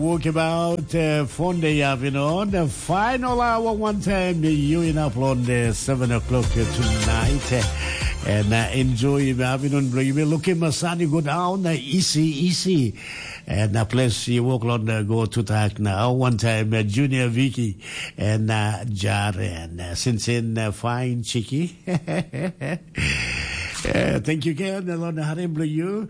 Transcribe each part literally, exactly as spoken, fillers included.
Walkabout uh, Fonday afternoon, the final hour one time you in up on the seven o'clock uh, tonight uh, and uh, enjoy the afternoon bro. You will look at my son, you go down uh, easy, easy. And uh, plus you walk on uh, go to talk now one time uh, Junior Vicky and uh, Jaren uh, since in uh, fine chicky. Uh, thank you again, Lord Harim Blue you.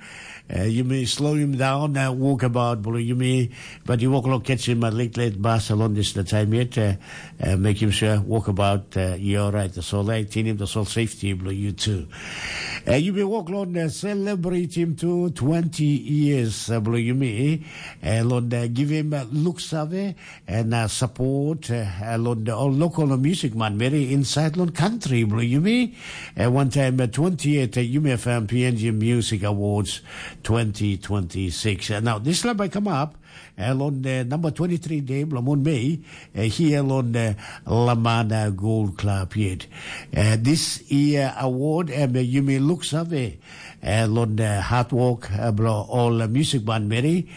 Uh, you may slow him down, uh, walk about Blue you may, but you walk along catch him a late late bus along this the time yet. Uh, uh, make him sure walk about uh, you're right, the soul light, in him the soul safety Blue you too. Uh, you may walk along uh, celebrate him too, twenty years uh, Blue you may, uh, Lord uh, give him uh, looks of it, and uh, support uh, along the all local music man very inside long country bro you me. Uh, one time uh, twenty-eight uh, Yumi F M P N G Music Awards twenty twenty-six. Uh, now this lab I come up uh, on the number twenty-three day blamon May uh, here on the Lamana Gold Club yet. Uh, this year award um, uh, Yumi looks of it uh, on the hard work uh, bro all uh, music man Mary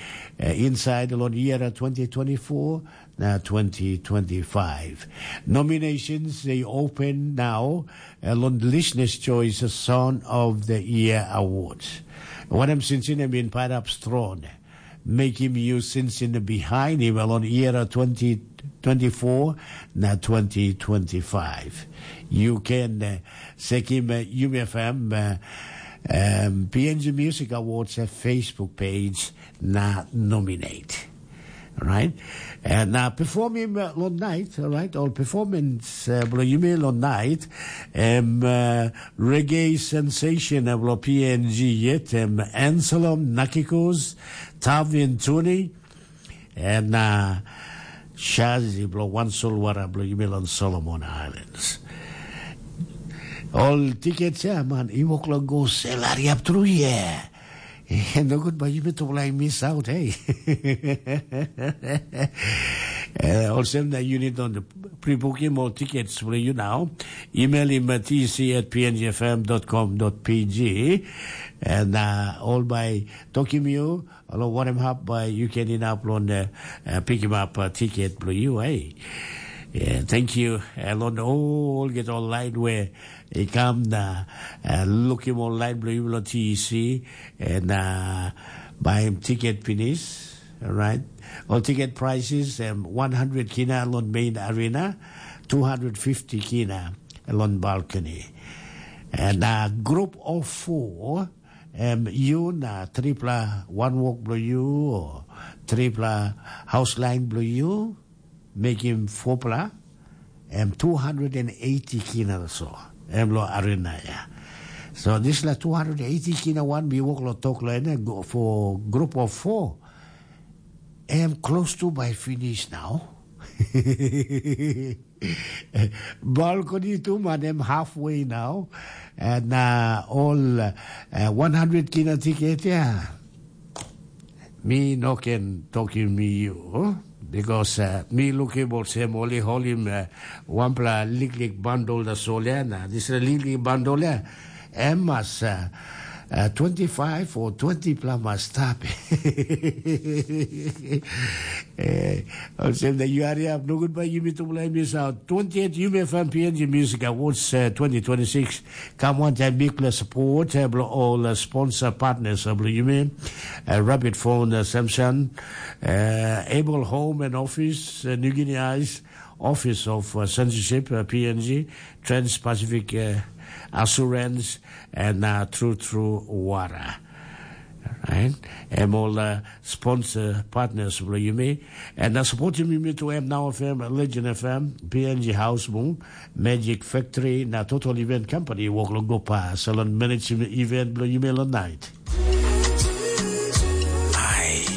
uh, inside on year uh, twenty twenty-four na twenty twenty-five. Nominations they open now uh, on the Listeners' Choice Song of the Year Awards. What I'm since in been paid up strong. Make him use since in the behind him on year twenty twenty-four na twenty twenty-five. You can uh, check him uh, U M F M uh, um, P N G Music Awards uh, Facebook page na nominate. Right? And now perform him uh, long night, all right? All performance uh, blo yume long night. Um, uh, reggae sensation uh, blo P N G yet um, Anselm Nakikos, Tavin Tuni, and uh, Shazi blo One Soul Wara blo yume long Solomon Islands. All tickets yeah man, i wok long go sell hurry up through yeah. Nogut bai yumi tupela i miss out, hey. Uh, olsem na you need on the pre-booking more tickets for you now. Email him at tc at pngfm.com.pg and uh, all by talking you, alo warem hap by you can in up on the uh, pick him up uh, ticket for you, hey. Yeah, thank you. Alon all get all light where e kam na uh, lukim ol lain bilong yupela T E C and uh, baim tiket pinis, right? Ol tiket prices um, one hundred kina long main arena, two hundred fifty kina long balcony. And uh, group of four, um, you na tripla one walk below you or tripla house line below you, mekim fopla em two hundred and eighty kina so em lo arena ya. So dispela two hundred eighty kina wan mi wok lo tok lo ene go for group of four. Em close to by finish now. Balcony tu man em halfway now. And uh, all uh, one hundred kina ticket ya. Mi no ken tokim mi yu, because uh, mi lukim olsem ol i holim uh, wanpela liklik bandol da solia na dispela liklik bandol ya em mas uh, uh, twenty-five or twenty pla mas stap. Eh, olsem da yu hariap nogut bai yumi tupela i mis aut twenty-eight yumi fm png music awards uh, twenty twenty-six. Come on time big plus support uh, all uh, sponsor partners of yumi, uh, Rabbit Phone uh, Samson, uh, Able Home and Office, uh, New Guinea Eyes, Office of uh, Censorship, uh, P N G, Trans-Pacific uh, Assurance, and uh, True True Water. Right? Em ol uh, sponsor partners blo yumi. And uh, support yumi to em now F M, Legend F M, P N G House Moon, Magic Factory, na Total Event Company, Woklo Gopa, Salon Management Event blo yumi long night.